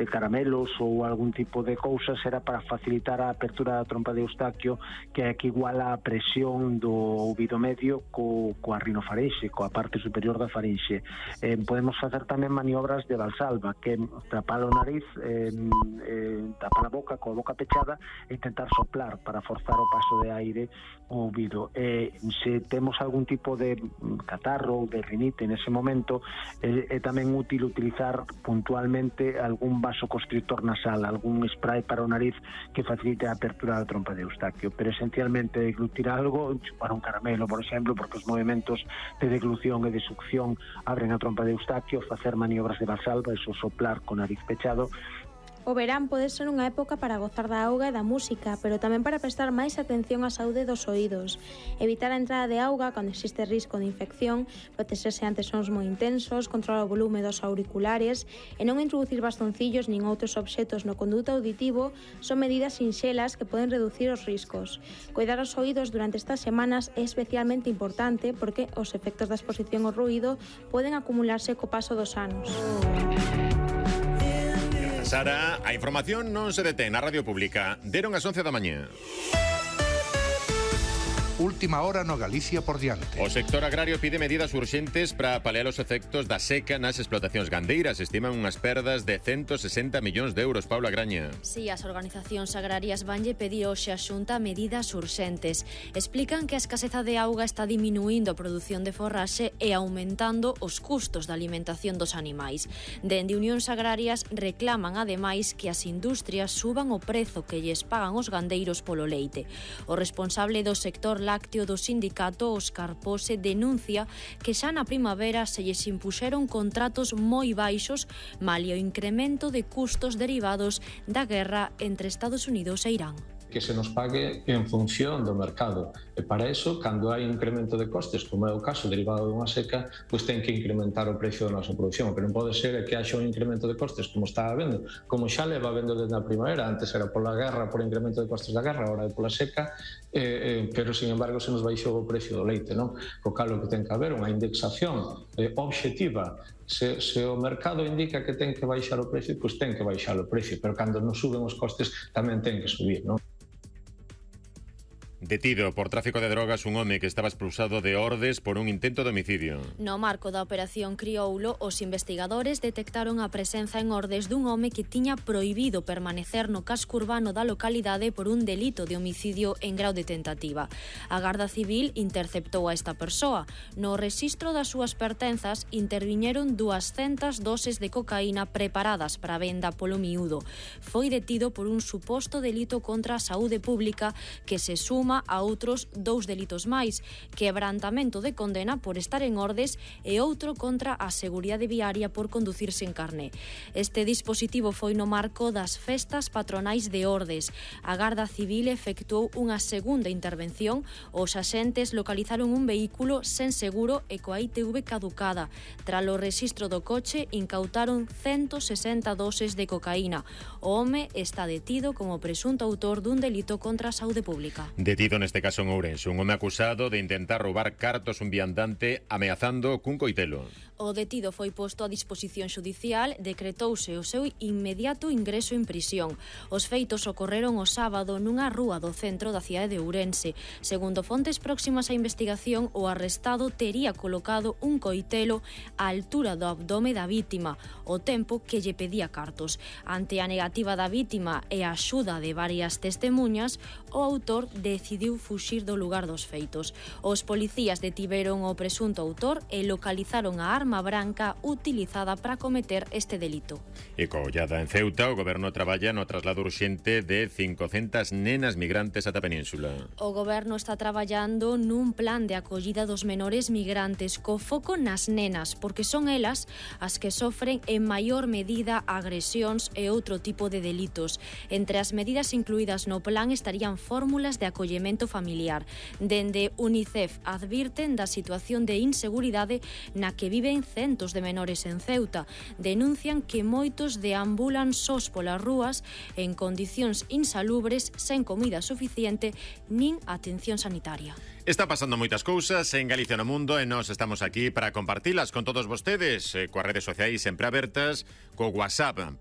caramelos ou algún tipo de cousas, era para facilitar a apertura da trompa de Eustaquio, que é que iguala a presión do ouvido medio coa rinofarinxe, coa parte superior da farinxe. Podemos facer tamén maniobras de Valsalva, que é tapar o nariz, tapar a boca coa boca pechada e intentar soplar para forzar o paso de aire ao ouvido. Se temos algún tipo de catarro ou de rinite nese momento, é tamén útil utilizar puntualmente algún vasoconstrictor nasal, algún spray para o nariz que facilite a apertura da trompa de Eustaquio, pero esencialmente deglutir algo, chupar un caramelo, por exemplo, porque os movimentos de deglución e de succión abren a trompa de Eustaquio, facer maniobras de Valsalva, eso soplar con nariz pechado. O verán pode ser unha época para gozar da auga e da música, pero tamén para prestar máis atención á saúde dos oídos. Evitar a entrada de auga cando existe risco de infección, protexerse ante sons moi intensos, controlar o volume dos auriculares e non introducir bastoncillos nin outros obxetos no conduto auditivo son medidas sinxelas que poden reducir os riscos. Cuidar os oídos durante estas semanas é especialmente importante porque os efectos da exposición ao ruído poden acumularse co paso dos anos. Sara, a información non se detén na Radio Pública. Deron as 11 da mañá. Última hora no Galicia por diante. O sector agrario pide medidas urxentes para paliar os efectos da seca nas explotacións gandeiras. Estiman unhas perdas de 160 millóns de euros. Paula Graña. Si, as organizacións agrarias vanlle pedir hoxe a Xunta medidas urxentes. Explican que a escaseza de auga está diminuindo a produción de forraxe e aumentando os custos da alimentación dos animais. Dende Unións Agrarias reclaman ademais que as industrias suban o prezo que lles pagan os gandeiros polo leite. O responsable do sector lácteo do sindicato, Óscar Pose, denuncia que xa na primavera se lles impuxeron contratos moi baixos malia o incremento de custos derivados da guerra entre Estados Unidos e Irán. Que se nos pague en función do mercado. E para iso, cando hai incremento de costes, como é o caso derivado dunha seca, pois ten que incrementar o precio da nosa produción. Pero non pode ser que haxa un incremento de costes como está habendo, como xa leva habendo desde a primavera. Antes era pola guerra, por incremento de costes da guerra, agora é pola seca, pero, sin embargo, se nos baixou o precio do leite, non? Co cal o que ten que haber unha indexación obxectiva. Se o mercado indica que ten que baixar o precio, pois ten que baixar o precio, pero cando nos suben os costes tamén ten que subir, non? Detido por tráfico de drogas un home que estaba expulsado de Ordes por un intento de homicidio. No marco da operación Crioulo, os investigadores detectaron a presenza en Ordes dun home que tiña prohibido permanecer no casco urbano da localidade por un delito de homicidio en grau de tentativa. A Garda Civil interceptou a esta persoa. No rexistro das súas pertenzas interviñeron 200 doses de cocaína preparadas para venda polo miúdo. Foi detido por un suposto delito contra a saúde pública que se suma a outros 2 delitos máis, quebrantamento de condena por estar en Ordes e outro contra a seguridade viaria por conducir sen carné. Este dispositivo foi no marco das festas patronais de Ordes. A Garda Civil efectuou unha segunda intervención. Os axentes localizaron un vehículo sen seguro e coa ITV caducada. Tras o rexistro do coche, incautaron 160 doses de cocaína. O home está detido como presunto autor dun delito contra a saúde pública. Detido neste caso en Ourense, un home acusado de intentar roubar cartos a un viandante ameazando cun coitelo. O detido foi posto a disposición xudicial, decretouse o seu inmediato ingreso en prisión. Os feitos ocorreron o sábado nunha rúa do centro da cidade de Ourense. Segundo fontes próximas á investigación, o arrestado tería colocado un coitelo á altura do abdome da vítima, o tempo que lle pedía cartos. Ante a negativa da vítima e a axuda de varias testemuñas, o autor decidiu fuxir do lugar dos feitos. Os policías detiveron o presunto autor e localizaron a arma branca utilizada para cometer este delito. E co ollada en Ceuta, o goberno traballa no traslado urxente de 500 nenas migrantes ata a península. O goberno está traballando nun plan de acollida dos menores migrantes co foco nas nenas, porque son elas as que sofren en maior medida agresións e outro tipo de delitos. Entre as medidas incluídas no plan estarían fórmulas de acollemento familiar. Dende UNICEF advirten da situación de inseguridade na que viven centos de menores en Ceuta. Denuncian que moitos deambulan sós polas rúas en condicións insalubres, sen comida suficiente nin atención sanitaria. Está pasando moitas cousas en Galicia no mundo e nós estamos aquí para compartilas con todos vostedes, coas redes sociais sempre abertas, co WhatsApp